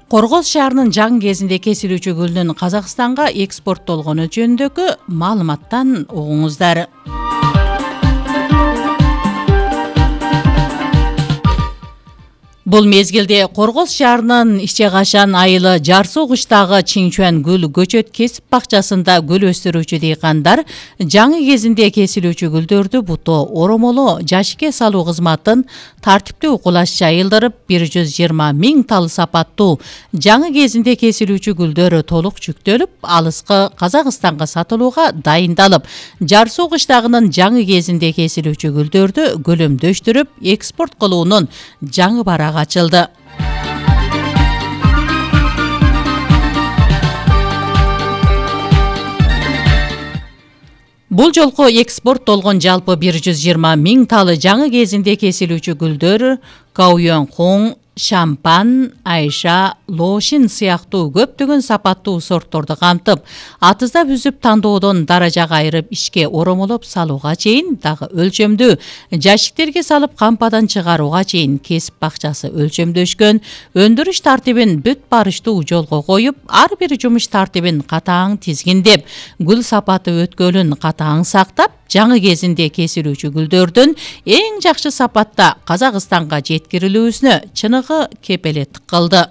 Коргоз шаарынын жаңы кезинде кесилүүчү гүлдүн Казакстанга экспорттолгону жөнүндөгү маалыматтан угуңуздар. Бул мезгилде Коргоз шаарынын Ишче Кашан айылы Жар Суу кыштагы Чиңчуан гүл көчөт кесип бакчасында гүл өстүрүүчү дыйкандар жаңы кезинде кесилүүчү гүлдөрдү буто оромоло жашикке салуу кызматын тартиптүү кулаш жайылдырып 120 000 тал сапаттуу жаңы кезинде кесилүүчү гүлдөр толук жүктөлүп, алыскы Казакстанга сатылууга дайындалып, Жар Суу кыштагынын жаңы кезинде кесилүүчү гүлдөрдү көлөмдөштүрүп, экспорт кылуунун жаңы барагы ачылды. Бул жолку экспорттолгон жалпы 120 000 талы жаңы кезинде кесилүүчү гүлдөр Каоюан-Хун, Шампан, Айша, Лошин сыяктуу көптөгөн сапаттуу сортторду камтып, атыздап үзүп тандоодон даражага айырып ишке оромолоп салууга чейин, дагы өлчөмдүү жашиктерге салып кампадан чыгарууга чейин кесип бакчасы өлчөмдөшкөн, өндүрүш тартибин бүт барыштуу жолго коюп, ар бир жумуш тартибин катаң тизгиндеп, гүл сапаты өткөлүн катаң сактап, жаңы кезинде кесилүүчү гүлдөрдүн эң жакшы сапатта Казакстанга жеткирилүүсүнө чыныгы кепелеттик кылды.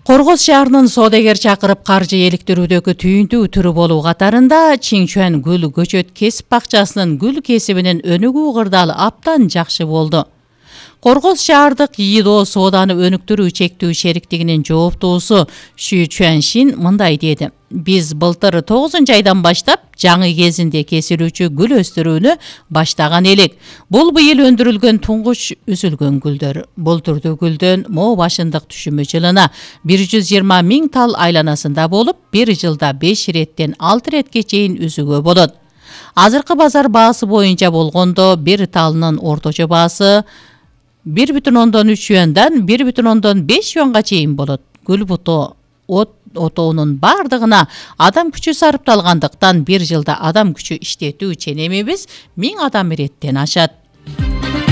Коргоз шаарынын соодагер чакырып каржы иликтирүүдөгү түйүндүү түрү болуу катарында Чиңчуан гүл көчөт кесип бакчасынын гүл кесибинин өнүгүү кырдаалы абдан жакшы болду. Коргоз шаардык ИИДО сооданы өнүктүрүү чектүү шериктигинин жооптуусу Шү Чуаншин мындай деди: Биз былтыр 9-айдан баштап жаңы кезинде кесилүүчү гүл өстүрүүнү баштаган элек. Бул быйыл өндүрүлгөн туңгуч үзүлгөн гүлдөр. Бул түрдүү гүлдөн моо башындык түшүмү жылына 120 000 тал айланасында болуп, бир жылда 5 реттен 6 иретке чейин үзүүгө болот. Азыркы базар баасы боюнча болгондо бир талынын орточо баасы 1,3 юандан 1,5 юанга чейин болот. Гүл буто отоонун бардыгына адам күчү сарпталгандыктан бир жылда адам күчү иштетүү ченемибиз 1000 адам иреттен ашат.